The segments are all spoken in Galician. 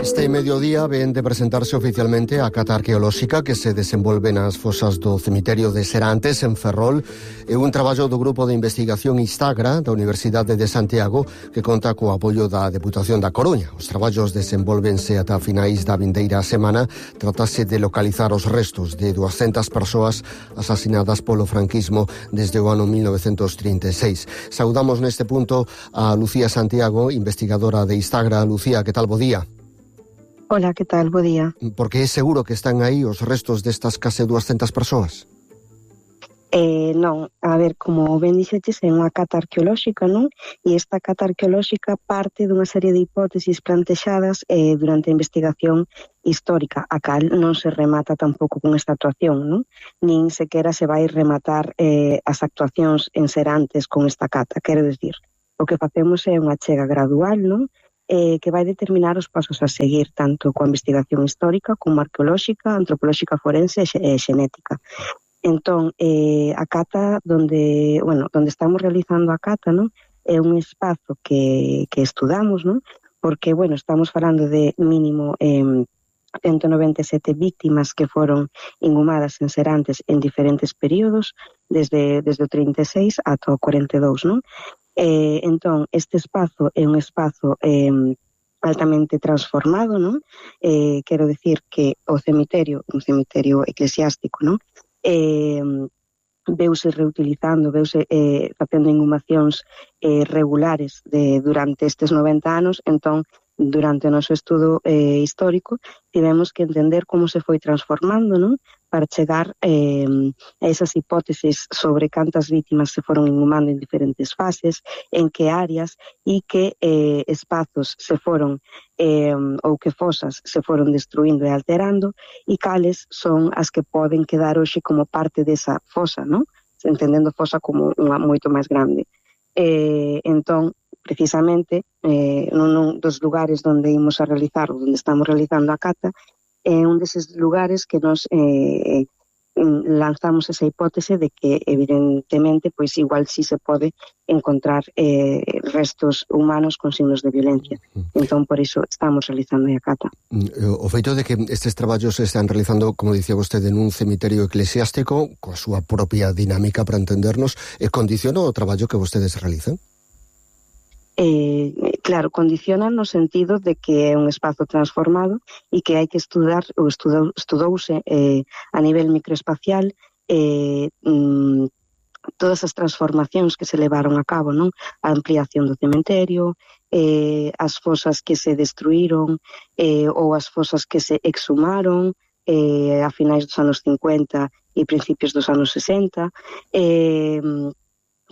Este mediodía ven de presentarse oficialmente a cata arqueolóxica que se desenvolve nas fosas do cemiterio de Serantes, en Ferrol. É un traballo do Grupo de Investigación Istagra da Universidade de Santiago que conta co apoio da Deputación da Coruña. Os traballos desenvolvense ata finais da vindeira semana. Tratase de localizar os restos de 200 persoas asasinadas polo franquismo desde o ano 1936. Saudamos neste punto a Lucía Santiago, investigadora de Istagra. Lucía, que tal? Bo día. Hola, que tal? Bo día. Porque é seguro que están aí os restos destas case 200 persoas? Non, a ver, como ben dixeches, é unha cata arqueolóxica, non? E esta cata arqueolóxica parte dunha serie de hipótesis plantexadas durante a investigación histórica, a cal non se remata tampouco con esta actuación, non? Nin sequera se vai rematar as actuacións en Serantes con esta cata, quero dicir, o que facemos é unha chega gradual, non? Que vai determinar os pasos a seguir tanto coa investigación histórica como arqueolóxica, antropolóxica forense e xenética. Entón, a cata onde estamos realizando a cata, non? É un espazo que estudamos, non? Porque, estamos falando de mínimo 197 víctimas que foron inhumadas en Serantes en diferentes períodos, desde o 36 ata o 42, non? Entón, este espazo é un espazo altamente transformado, non? Quero dicir que o cemiterio, un cemiterio eclesiástico, non? Veuse reutilizando, veuse facendo inhumacións regulares durante estes 90 anos. Entón, durante o noso estudo histórico, tivemos que entender como se foi transformando, non? Para chegar a esas hipótesis sobre cantas vítimas se foron inhumando en diferentes fases, en que áreas e que espazos se foron ou que fosas se foron destruindo e alterando e cales son as que poden quedar hoxe como parte desa fosa, non? Entendendo fosa como unha moito máis grande. Entón, precisamente, nun dos lugares onde imos a realizar, onde estamos realizando a cata, é un deses lugares que nos lanzamos esa hipótese de que, evidentemente, pois igual si se pode encontrar restos humanos con signos de violencia. Entón, por iso estamos realizando a cata. O feito de que estes traballos se están realizando, como dicía vostede, nun cemiterio eclesiástico, coa súa propia dinámica para entendernos, condiciona o traballo que vostedes realizan? Claro, condiciona no sentido de que é un espazo transformado e que hai que estudar, ou estudouse a nivel microespacial todas as transformacións que se levaron a cabo, non? A ampliación do cementerio, as fosas que se destruíron ou as fosas que se exhumaron a finais dos anos 50 e principios dos anos 60,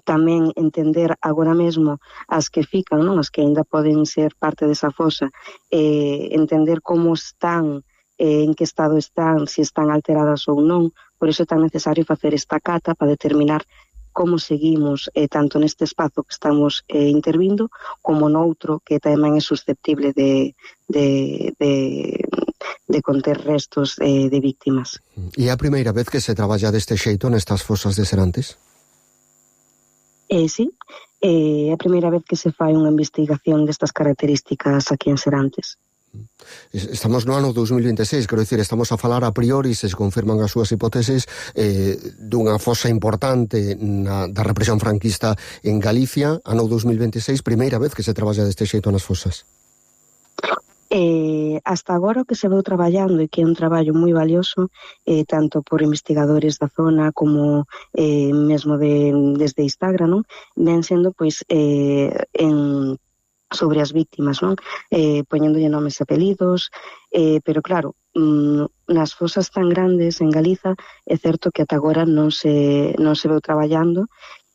tamén entender agora mesmo as que fican, non? As que ainda poden ser parte desa fosa, entender como están, en que estado están, se están alteradas ou non. Por iso é tan necesario facer esta cata para determinar como seguimos tanto neste espazo que estamos intervindo como noutro que tamén é susceptible de conter restos de víctimas. E é a primeira vez que se traballa deste xeito nestas fosas de Serantes? Sí, é a primeira vez que se fai unha investigación destas características aquí en Serantes. Estamos no ano 2026, quero dicir, estamos a falar a priori, se confirman as súas hipótesis, dunha fosa importante da represión franquista en Galicia, ano 2026, primeira vez que se traballa deste xeito nas fosas. Hasta agora o que se veu traballando e que é un traballo moi valioso tanto por investigadores da zona como mesmo desde Istagra, non? Ven sendo pois sobre as víctimas, non? Poñéndolle nomes e apelidos, pero claro, nas fosas tan grandes en Galiza é certo que ata agora non se veu traballando.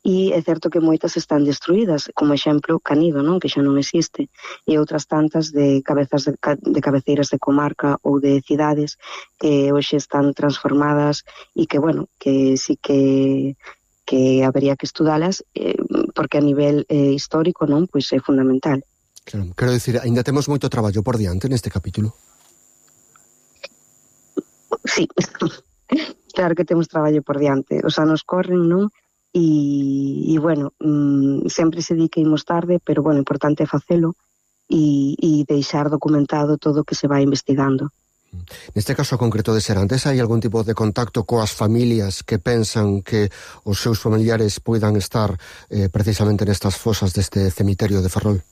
E é certo que moitas están destruídas, como exemplo Canido, non? Que xa non existe, e outras tantas de cabeceiras de comarca ou de cidades que hoxe están transformadas e que, que sí que habería que estudalas porque a nivel histórico, non? Pois é fundamental. Claro, quero dicir, ainda temos moito traballo por diante neste capítulo. Sí, claro que temos traballo por diante. Os anos corren, non? E sempre se di que imos tarde, pero, importante é facelo. e deixar documentado todo o que se vai investigando. Neste caso concreto de Serantes, hai algún tipo de contacto coas familias que pensan que os seus familiares poidan estar precisamente nestas fosas deste cemiterio de Ferrol?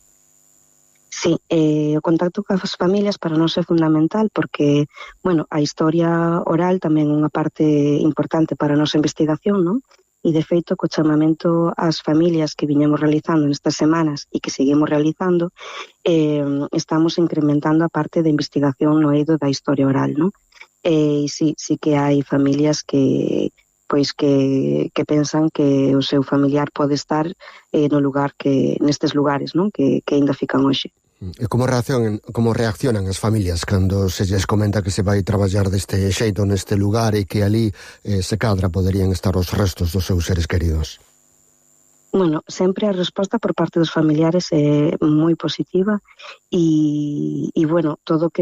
Sí, o contacto coas familias para nós é fundamental porque, bueno, a historia oral tamén é unha parte importante para a nosa investigación, non? E, de feito, co chamamento ás familias que viñemos realizando nestas semanas e que seguimos realizando, estamos incrementando a parte de investigación no eido da historia oral, non? E sí que hai familias que pensan que o seu familiar pode estar no lugar nestes lugares, non? Que ainda fican hoxe. E como reaccionan as familias cando se lles comenta que se vai traballar deste xeito neste lugar e que ali se cadra poderían estar os restos dos seus seres queridos? Bueno, sempre a resposta por parte dos familiares é moi positiva e bueno, todo o que